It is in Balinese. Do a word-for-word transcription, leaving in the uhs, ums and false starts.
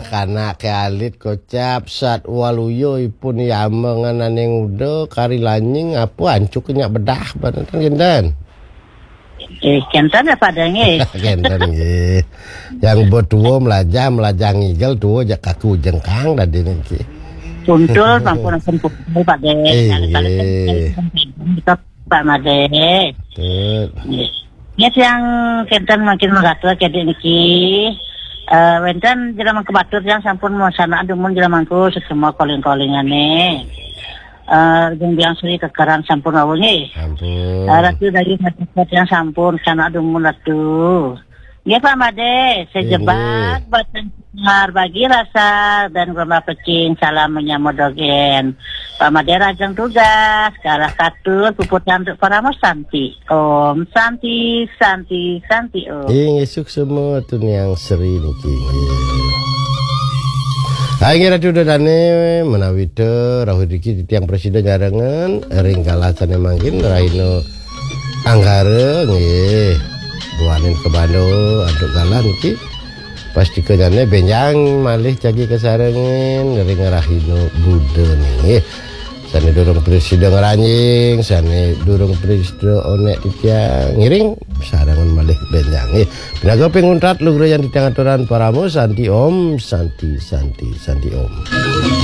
Kanak ke alit kocap sat waluyo ipun yama ngan aning uda kari lanying apa ancuk nyak bedah banatan kinten. Eh, kenten ya Pak Deng, eh. Kenten nggih. Yang betua melajah melajah ngigel tua jak kaku jengkang tadi niki. Kuntul, sampun, sampun kuntul, Pak Deng. Eh, Kali-kali kan nggih. Pak Made. Betul. Nggih. Ya, tiang kenten makin mengatur ke niki. Eh, wenten jero mangku batur tiang sampun melaksana dumun jero mangku semua calling-callingane. Eh, jeung biang Sri kekeran sampun wau nggih. Ampun. Eh, Ratu Dayu Masyarakat yang sampun sana dumun Ratu. Nggih Pak Made, sejebak batang sinar bagi rasa dan gelombang pecing salam menyambut dogen. Pak Made rajang tugas, kalah katur puput untuk para santi. Om Santi, Santi, Santi Om. Inggih suksma tuniang Sri niki. Nggih. Hai nggih Ratu Dadane menawita rahu diki titiang presida nyarengan ring galah sane mangkin rahina Anggara nggih. Buanin kebando antuk galah niki. Pastika jane benjang malih jagi kasarengin ring rahina Buda nggih. Sane durung presida ngranjing, sane durung presida onek titiang ngiring sarengan malih benjang nggih. Pinaga pinguntat lugra yang titiang aturan parama santi om, santi santi santi om.